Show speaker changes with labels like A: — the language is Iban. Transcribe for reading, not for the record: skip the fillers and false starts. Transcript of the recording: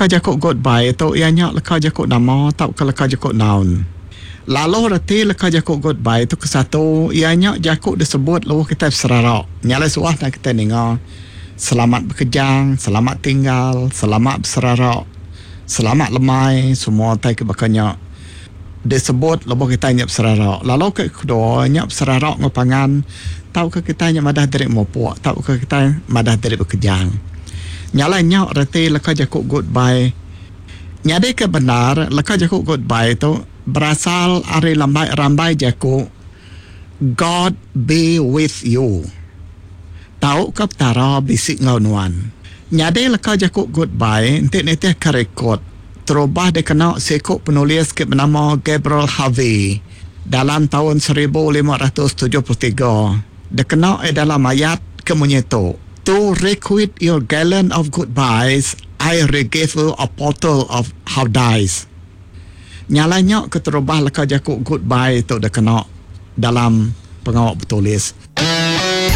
A: leka jaku goodbye tu iya nya leka jaku nama tauka leka jaku noun. Lalu reti leka jaku goodbye tu kesatu iya nya jaku disebut lebuh kitai beserara. Nya alai suah enda kitai ninga selamat bekejang, selamat tinggal, selamat beserara, selamat lemai semua utai ke baka nya disebut lebuh kitai nya beserara. Lalu ke kedua nya beserara enggau pangan tauka kitai nya madah diri mupuk tauka kitai madah diri bekejang. Nya alai nya reti leka jaku goodbye. Nyadi ke bendar, leka jaku goodbye tu berasal ari lambai rambai jaku God be with you tauka Petara bisi enggau nuan. Nyadi leka jaku goodbye enti nitihka rekod terubah dikena siku penulis ke benama Gabriel Harvey dalam taun 1573 dikena iya dalam ayat ke munyi tu. To requite your gallon of goodbyes, I regave you a pottle of howdies. Nya alai nya keterubah leka jaku goodbye tu dikena dalam pengawa betulis.